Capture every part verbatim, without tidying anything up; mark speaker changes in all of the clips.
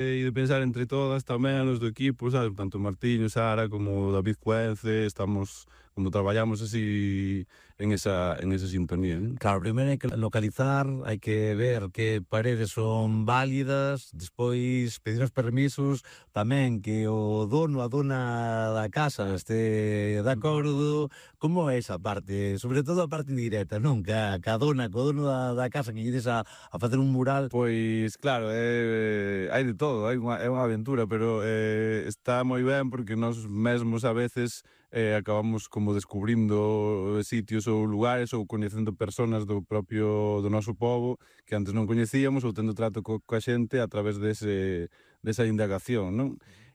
Speaker 1: e de pensar entre todas tamén, os do equipo, sabes? Tanto Martiño, Sara, como David Cuence, estamos, como traballamos así en esa, en esa sintonía, non?
Speaker 2: Claro, primeiro hai que localizar, hai que ver que paredes son válidas, despois pedir os permisos, tamén que o dono, a dona da casa este de acordo. Como é esa parte? Sobre todo a parte directa, non? Que a, que a dona, que o dono da, da casa que ides a, a facer un mural.
Speaker 1: Pois claro, eh, hai de todo, hai unha, é unha aventura, pero eh, está moi ben porque nós mesmos a veces eh, acabamos como descubrindo sitios ou lugares ou coñecendo personas do propio do noso pobo que antes non coñecíamos ou tendo trato co, coa xente a través dese, desa indagación, non?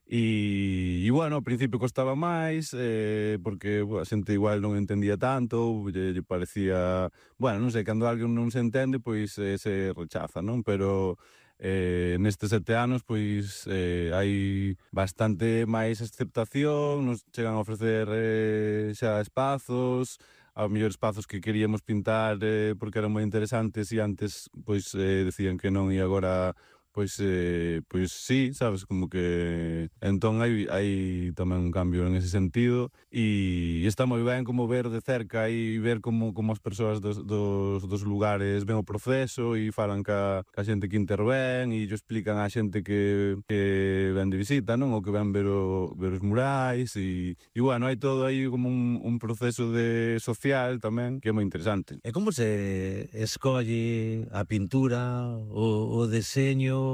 Speaker 1: E, e bueno, ao principio costaba máis eh, porque bueno, a xente igual non entendía tanto ou lle, lle parecía, bueno, non sei, cando alguén non se entende pois eh, se rechaza, non? Pero eh, nestes sete anos pois eh, hai bastante máis aceptación, nos chegan a ofrecer eh, xa espazos, ao mellor espazos que queríamos pintar eh, porque eran moi interesantes e antes pois eh, decían que non e agora pois eh, pois sí, sabes, como que entón hai hai tamén un cambio en ese sentido e está moi ben como ver de cerca e ver como como as persoas dos, dos, dos lugares ven o proceso e falan ca, ca xente que intervén e yo explican á xente que, que ven de visita, non? Ou que ven ver, o, ver os murais e, e bueno, hai todo aí como un, un proceso de social tamén que é moi interesante.
Speaker 2: E como se escolle a pintura, o, o deseño?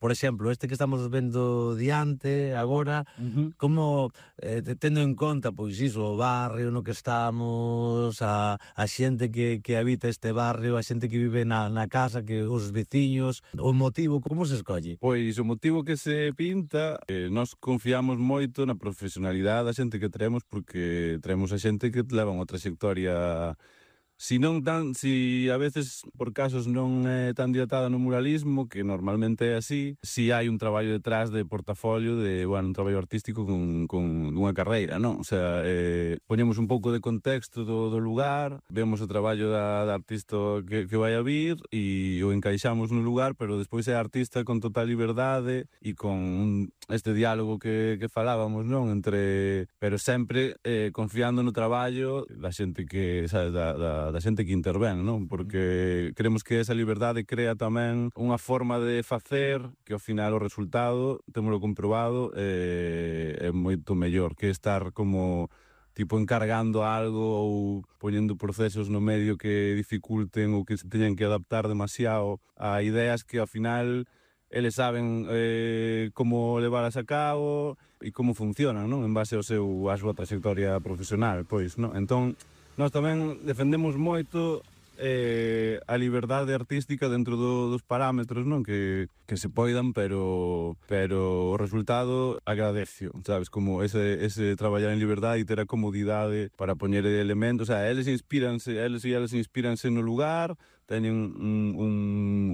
Speaker 2: Por exemplo, este que estamos vendo diante agora,
Speaker 1: Uh-huh.
Speaker 2: como eh, tendo en conta pois iso, o barrio no que estamos, a, a xente que, que habita este barrio, a xente que vive na, na casa, que os veciños, o motivo, como se escolle?
Speaker 1: Pois o motivo que se pinta, eh, nós confiamos moito na profesionalidade da xente que traemos porque traemos a xente que leva unha trayectoria. Si non tan, si a veces por casos non é tan dilatada no muralismo, que normalmente é así, si hai un traballo detrás de portafolio, de, bueno, un traballo artístico con, con unha carreira, non? O sea, eh, poñemos un pouco de contexto do, do lugar, vemos o traballo da, da artista que, que vai a vir e o encaixamos no lugar, pero despois é artista con total liberdade e con un, este diálogo que, que falábamos, non? Entre, pero sempre eh, confiando no traballo da xente que, sabes, da, da da xente que intervén, non? Porque creemos que esa liberdade crea tamén unha forma de facer que ao final o resultado, témolo comprobado, eh, é moito mellor que estar como tipo encargando algo ou poñendo procesos no medio que dificulten ou que se teñan que adaptar demasiado a ideas que ao final eles saben eh, como levalas a cabo e como funcionan, non? En base ao seu, a súa trayectoria profesional, pois, non? Entón, nós tamén defendemos moito eh, a liberdade artística dentro do, dos parámetros, non? Que, que se poidan, pero pero o resultado agradecio, sabes? Como ese, ese traballar en liberdade e ter a comodidade para poñer elementos, o sea, eles inspíranse, eles e eles inspíranse no lugar, teñen un, un,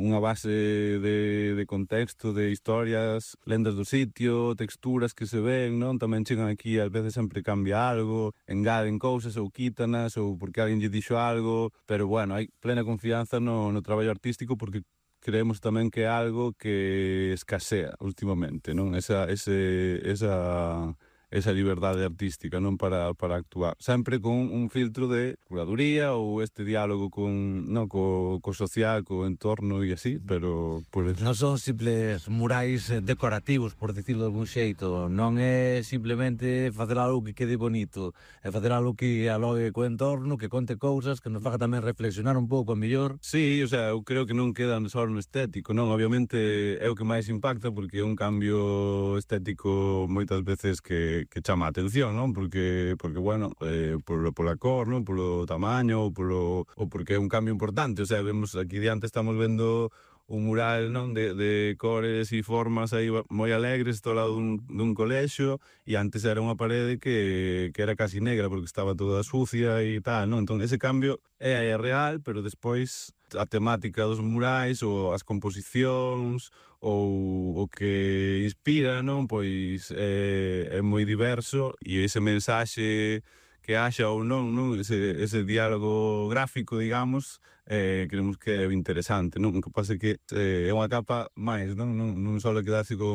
Speaker 1: unha base de, de contexto, de historias, lendas do sitio, texturas que se ven, non? Tamén chegan aquí, ás veces sempre cambia algo, engaden cousas ou quítanas, ou porque alguén lle dixo algo, pero bueno, hai plena confianza no, no traballo artístico porque creemos tamén que é algo que escasea últimamente, non? Esa, ese, esa, esa liberdade artística, non? Para, para actuar. Sempre con un filtro de curaduría ou este diálogo con, non? Co, co social, co entorno e así, pero... Pues...
Speaker 2: Non son simples murais decorativos, por decirlo de algún xeito. Non é simplemente facer algo que quede bonito, é facer algo que alogue co entorno, que conte cousas, que nos faga tamén reflexionar un pouco, a mellor.
Speaker 1: Sí, o sea, eu creo que non quedan só no estético, non? Obviamente é o que máis impacta porque é un cambio estético moitas veces que, que chama a atención, non? Porque, porque bueno, eh, por, pola cor, non? Polo tamaño, ou, polo, ou porque é un cambio importante, o sea, vemos aquí diante estamos vendo un mural, non? De, de cores e formas aí moi alegres todo lado dun, dun colexio e antes era unha parede que, que era casi negra porque estaba toda sucia e tal, non? Entón ese cambio é, é real, pero despois a temática dos murais ou as composicións ou o que inspira, non? Pois é, é moi diverso e ese mensaxe que haxa ou non, non? Ese, ese diálogo gráfico, digamos, eh, creemos que é interesante, non? O que pasa é que eh, é unha capa máis, non? Non, non só quedarse con